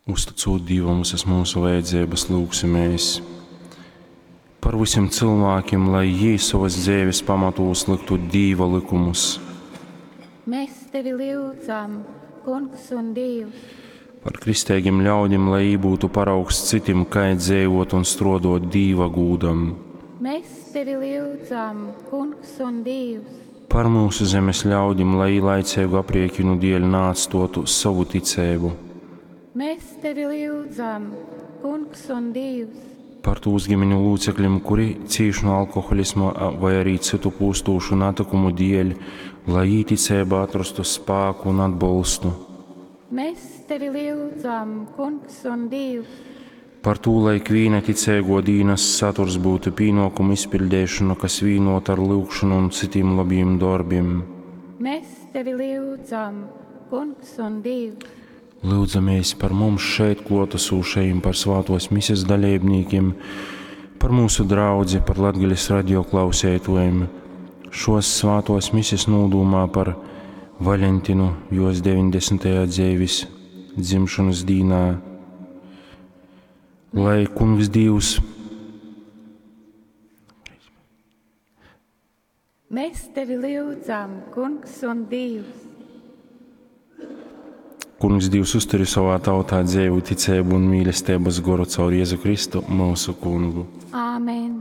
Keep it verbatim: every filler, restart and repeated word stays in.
Uzticūt Dīvam visas mūsu vajadzības, lūgsimies par visiem cilvēkiem, lai jī sovas dzeives pamatūs liktu Dīva lykumus. Mēs tevi lyudzam, Kungs un Dievs. Par kristeigim ļaudim, lai jī būtu paraugs citim, kai dzeivot un struodot Dīva gūdam. Mēs tevi lyudzam, Kungs un Dievs. Par mūsu zemes ļaudim, lai jī laiceigu apriekinu dēļ naatstotu sovu ticeibu. Mēs tevi lyudzam, Kungs un Dievs. Par tūs ģimeņu locekļiem, kuri cīš no alkoholisma vai arī citu pūstūšu natikumu dēļ, lai jī ticeibā atrastu spāku un atbalstu. Mēs tevi lyudzam, Kungs un Dievs. Par to, lai ikvīna ticīgo dīnas saturs būtu pienākumu izpildīšana, kas vīnota ar lūgšanu un citiem labiem darbiem. Mēs tevi lyudzam, Kungs un Dievs. Lūdzamies par mums šeit klātesošajiem, par svētos mises dalībniekiem, par mūsu draudzi, par Latgales radio klausētojiem. Šos svētos mises nūdūmā par Valentinu jos deviņdesmitajā dzīves dzimšanas dīnā. Lai Kungs Dievs Mēs tevi lyudzam, Kungs un Dievs. Kungs Dievs uzturi savā tautā dzīvu ticību un mīlestības goru caur Jēzu Kristu, mūsu Kungu. Āmen.